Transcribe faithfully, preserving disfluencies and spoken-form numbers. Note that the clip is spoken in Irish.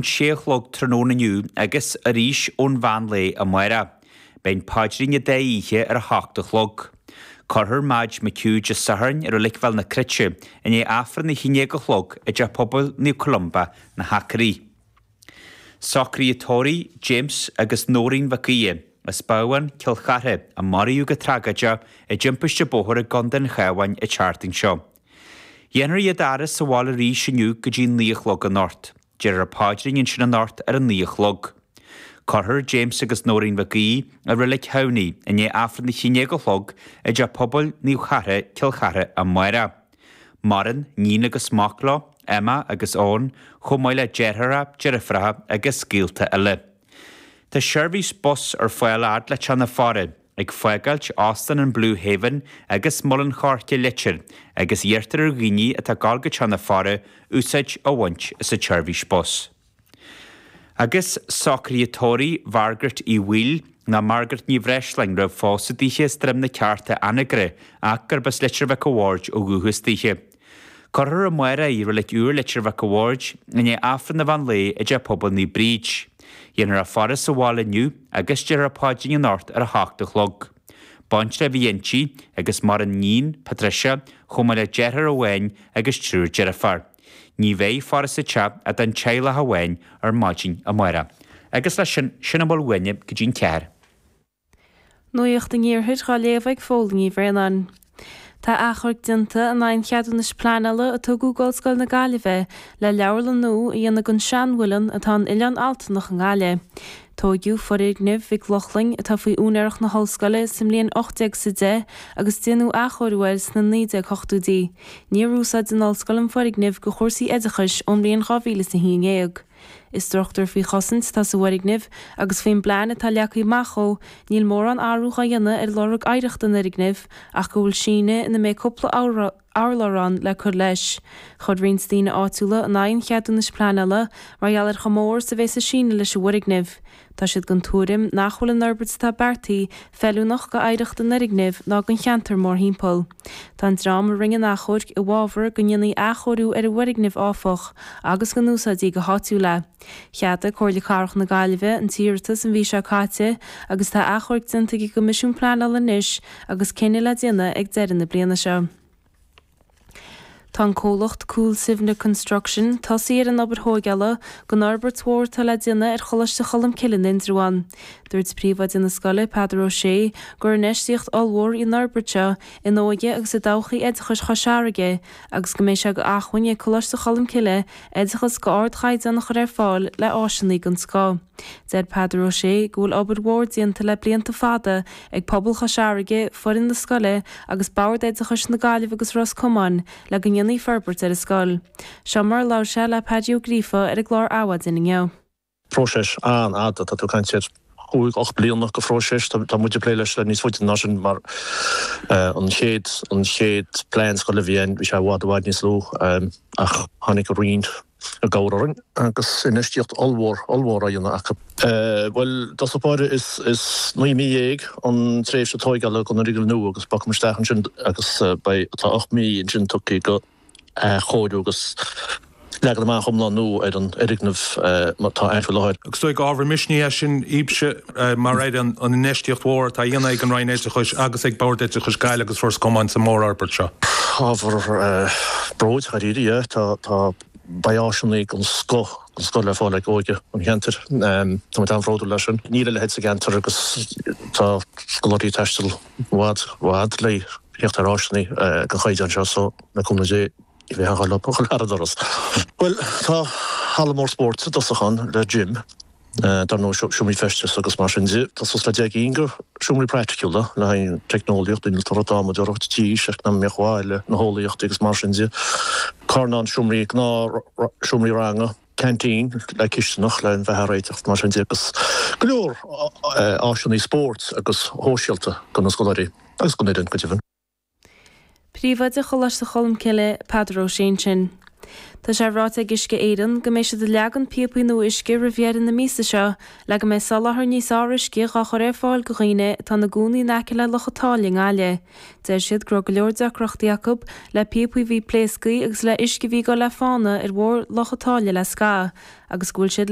sé a chlog tráthnóna inniu agus arís ón mheán lae amárach. Beidh an paidrín an dá oíche ar a hocht a chlog. Cuirfear Madge McHugh Dé Sathairn i Reilig Bhéal na Cruite i ndiaidh Aifreann a haon déag a chlog i dTeach Pobail Naomh Columba, na hAcraí. Socruithe tórraimh James agus Nóirín Mhic Aoidh, as Babhán, Cill Chartha, a maraíodh go tragóideach i dtimpiste bóthair i gContae an Chabháin an tseachtain seo. Dhéanfar iad a fhaire sa bhaile arís inniu go dtí naoi a chlog anocht. Déarfar paidrín ansin anocht ar a naoi a chlog. Cuirfear James agus Nóirín Mhic Aoidh i Reilig Thamhnaigh i ndiaidh Aifreann a haon déag a chlog i dTeach Pobail Naomh Chartha, Cill Chartha amárach. Maireann níon agus mac leo, Emma agus Eoin, chomh maith le deartháireacha, deirfiúracha agus gaolta eile. Tá seirbhís bus ar fáil fhad le Teach na Faire, ag fágáilt Óstán an Blue Haven agus Muileann Choirce Leitir agus iarrtar ar dhaoine atá ag gabháil go Teach na Faire úsáid a bhaint as an tseirbhís bus. Agus socruithe tórraimh Mhargaret Uí Bhaoill, nó Margaret Ní Bhreisleáin, raibh phósadh daoithe as Droim na Cearta Anagaire ach gurb as Leitir Mhic a' Bhaird ó dhúchas daoithe. Cuirfear amárach í i Reilig Úr Leitir Mhic a' Bhaird i ndiaidh Aifreann an mheán lae i dTeach Pobail Naomh Bríd. Dhéanfar a faire sa bhaile inniu agus déarfar paidrín anocht ar a hocht a chlog. Baintreach a bhí inti agus maireann níon, Patricia, chomh maith le deartháir amháin agus triúr deirfiúr. Ní bheidh faire sa teach ach don teaghlach amháin ar maidin amárach. Agus leis sin, sin a bhfuil uainne go dtí'n ceathair. Nuacht an Iarthair dhá léamh ag Fódhla Ní Bhraonáin. Tá achomharc déanta in aghaidh an cheadúnais pleanála a tugadh d'Ollscoil na Gaillimhe le leabharlann nua a dhéanamh den seanmhuileann atá in Oileán Altanach i nGaillimh. Tóigeadh foirgneamh Mhic Lochlainn, atá faoi úinéireacht na hOllscoile, sa mbliain ocht déag is a deich agus déanadh athchóiriú air sna naoi déag hochtóidí. Níor úsáid an Ollscoil an foirgneamh do chúrsaí oideachais ón mbliain dhá mhíle is a haon dhéag. Is struchtúr faoi chosaint atá sa bhfoirgneamh agus faoin bplean atá leagtha amach dhó, níl mórán athrú dhá dhéanamh ar lorg oidhreachta an fhoirgnimh ach go bhfuil síneadh ina mbeidh cúpla urlár ann le cur leis. Chuir roinnt daoine áitiúla in aghaidh an cheadúnais pleanála mar gheall ar chomh mór is a bheas an síneadh leis an bhfoirgneamh. Tá siad den tuairim nach bhfuil an fhorbairt atá beartaithe feiliúnach go oidhreacht an fhoirgnimh ná don cheantar mórthimpeall. Tá an dream a rinne an achomhairc i bhfabhar go ndéanfaí athchóiriú ar an bhfoirgneamh áfach agus go n-úsáidfí go háitiúil é. Cheadaigh Comhairle Cathrach na Gaillimhe an t-iarratas an mhí seo caite agus tá achomharc déanta ag an gCoimisiún Pleanála anois agus cinneadh le déanamh ag deireadh na bliana seo. Tá an comhlacht Cúil Suibhne Construction tosaithe ar an obair thóigeála don fhorbairt mhór atá le déanamh ar Choláiste Cholmcille in Indreabhán. Dúirt príomhoide na scoile, Peadar Ó Sé, gur infheistíocht ollmhór í an fhorbairt seo in óige agus i dtodhchaí oideachais Chois Fharraige agus go mbeidh sé d'acmhainn ag Coláiste Cholmcille oideachas d'ardchaighdeán a chur ar fáil le áiseanna den scoth. Deir Peadar Ó Sé go bhfuil obair mhór déanta le blianta fada ag pobal Chois Fharraige, foireann na scoile agus Bord Oideachais na Gaillimhe agus Ros Comáin le go ndéanfaí forbairt ar an scoil. Seo mar a labhair sé le Paddy Ó Gríofa ar an gclár Adhmhaidin inniu. Próiseas an-fhada, tá tú ag caint ar chúig, ocht bliana de phróiseas, tá muid ag plé leis le níos faide ná sin mar an chéad, an chéad plean scoile a bhí ann, bhí sé i bhfad, i bhfad níos lú ach tháinig an Roinn i gcabhair orainn agus infheistíocht ollmhór, ollmhór á dhéanamh acu. Bhuel, i dtosach báire is, is naoi mí dhéag an tréimhse tóigeála don fhoirgneamh nua agus bogfaidh muid isteach ansin agus beidh, tá ocht mí ansin tugtha do athchóiriú agus leagan amach iomlán nua ar an fhoirgneamh atá ann faoi láthair. Agus is dóigh ábhar misnigh é sin daoibhse mar Aire an infheistíocht mhór atá á dhéanamh ag an Roinn Oideachais agus ag Bord Oideachais Gaillimh agus Ros Comáin sa mhórfhorbairt seo. Ábhar bróid, dháiríre, yeah. Tá, tá, beidh áiseanna den scoth, den scoth le fáil ag óige an cheantair. Tá muid an-bhródúil as sin. Níl a leithéid sa gceantar agus tá scoláirí ag taisteal i bhfad, i bhfad le theacht ar áiseanna den chaighdeán seo so le cúnamh Dé ní bheidh aon chor leo a dhul thar an doras. Bhuel, tá halla mór spóirt i dtosach ann le gym, dar ndóigh seomraí feistis agus mar sin de. Tá suas le deich gcinn de seomraí praiticiúla le haghaidh teicneolaíocht, innealtóireacht, adhmadóireacht, tís, eacnamaíocht bhaile, na heolaíochtaí agus mar sin de. Carnán seomraí, gnáth seomraí ranga, ceaintín le cisteanach le an bheatha a réiteach mar sin de agus go leor áiseanna spóirt agus shóisialta do na scoláirí agus don fhoireann go deimhin. Príomhoide Choláiste Cholmcille, Peadar Ó Sé ansin. Tá sé ráite ag Uisce Éireann go mbeidh siad ag leagan píopaí nua uisce roimh dheireadh na míosa seo le go mbeidh soláthar níos fearr uisce dhá chur ar fáil go dhaoine atá ina gcónaí in aice le Loch an tSáile i nGaillimh. Deir siad go raibh go leor deacrachtaí acu le píopaí a bhí pléasctha agus le uisce a bhí ag dul le fána ar bharr Loch an tSáile le scaitheamh agus go bhfuil siad le